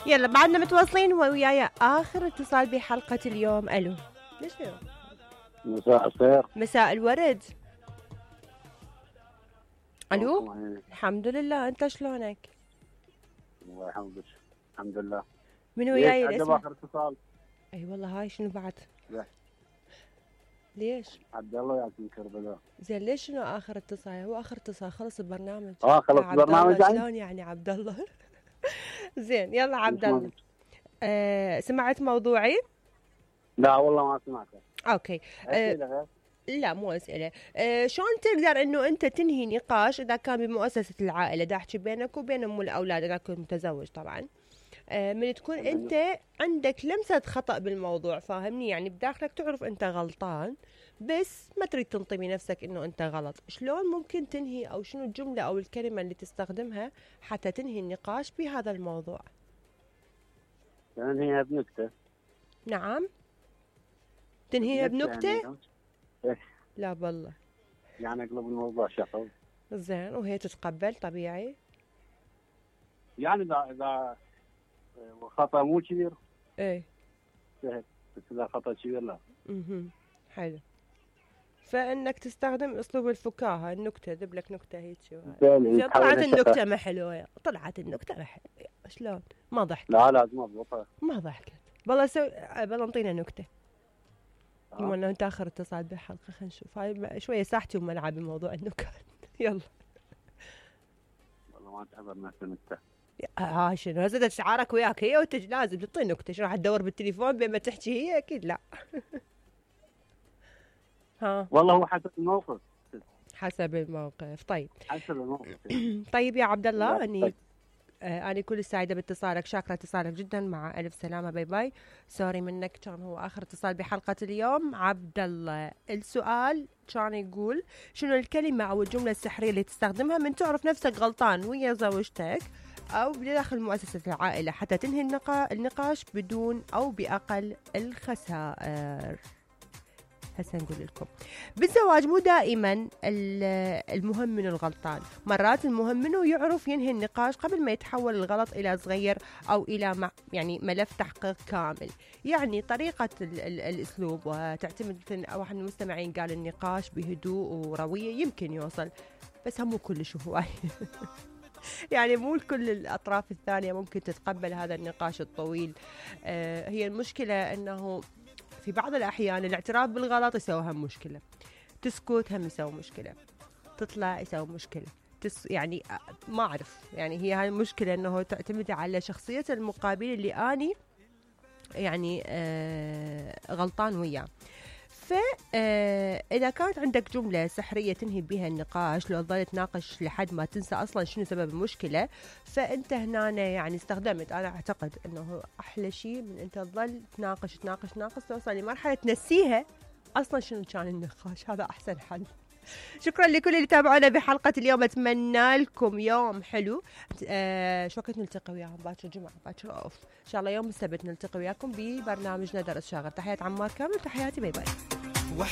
يلا بعدنا متواصلين وياي اخر اتصال بحلقة اليوم. الو ليش اليوم؟ مساء الخير. مساء الورد. الو. الحمد لله، انت شلونك؟ الله الحمد لله. من وياي الاسم؟ اخر اتصال. اي والله هاي شنو بعد؟ لا. ليش؟ عبد الله ياك من كربلاء. زين ليش شنو اخر اتصال؟ هو اخر اتصال خلص البرنامج. خلص البرنامج يعني؟ شلون يعني عبد الله؟ زين يلا عبد الله. سمعت موضوعي؟ لا والله ما سمعته. اوكي. لا مو اسئله. شلون تقدر انه انت تنهي نقاش اذا كان بمؤسسه العائله؟ دا احكي بينك وبين ام الاولاد اذا كنت متزوج طبعا. من تكون انت عندك لمسه خطا بالموضوع، فاهمني؟ يعني بداخلك تعرف انت غلطان بس ما تريد تنطي بنفسك انه انت غلط. شلون ممكن تنهي، او شنو الجمله او الكلمه اللي تستخدمها حتى تنهي النقاش بهذا الموضوع؟ تنهيها بنكته. نعم تنهيها بنكته يعني لا بالله يعني اقلب الموضوع شخص. زين وهي تتقبل طبيعي يعني اذا خطا مو كبير ايه سهل، بس اذا خطا كبير لا. حلو. فانك تستخدم اسلوب الفكاهه، النكته، ذب لك نكته هيك. طلعت النكته ما حلوه، طلعت النكته ما حلوه، شلون؟ ما ضحكت. لا لازم اضبطها. ما ضحكت. والله بالله انطينا نكته. بما انه انت اخر اتصال بالحلقه خلينا نشوف. هاي شويه ساحتي وملعبي بموضوع النكت. يلا. والله ما تعبر نفس النكته. شنو هسه شعارك وياك هي وانت لازم تعطي نكته؟ شنو راح تدور بالتليفون بين ما تحكي هي؟ اكيد لا. ها والله هو حسب الموقف. حسب الموقف. طيب حسب الموقف. طيب يا عبد الله، أنا كل سعيدة باتصالك، شاكرة اتصالك جدا، مع ألف سلامة، باي باي. سوري منك، كان هو آخر اتصال بحلقة اليوم. عبد الله السؤال كان يقول شنو الكلمة أو الجملة السحرية اللي تستخدمها من تعرف نفسك غلطان ويا زوجتك أو بداخل مؤسسة العائلة حتى تنهي النقاش بدون أو بأقل الخسائر. هسه نقول لكم بالزواج مو دائما المهم من الغلطان، مرات المهم منه يعرف ينهي النقاش قبل ما يتحول الغلط إلى صغير أو إلى يعني ملف تحقيق كامل. يعني طريقة الأسلوب وتعتمد في واحد من المستمعين قال النقاش بهدوء وروية يمكن يوصل، بس هم مو كلش هواي. يعني مو كل الأطراف الثانية ممكن تتقبل هذا النقاش الطويل. هي المشكلة أنه في بعض الأحيان الاعتراف بالغلط يسوي هم مشكلة، تسكت هم يسوي مشكلة، تطلع يسوي مشكلة، يعني ما أعرف. يعني هي هاي المشكلة أنه تعتمد على شخصية المقابل اللي أني يعني غلطان وياه. فإذا كانت عندك جملة سحرية تنهي بها النقاش لو ظلت تناقش لحد ما تنسى أصلا شنو سبب المشكلة، فأنت هنا يعني استخدمت، أنا أعتقد أنه أحلى شيء من أنت تظل تناقش توصل لمرحلة تنسيها أصلا شنو كان النقاش. هذا أحسن حل. شكرا لكل اللي تابعونا بحلقة اليوم، أتمنى لكم يوم حلو. شو وقت نلتقي وياهم؟ باكر جمعة، باكر أوف إن شاء الله. يوم السبت نلتقي وياكم ببرنامجنا درس شاغر. تحيات عمار كامل، تحياتي، باي باي.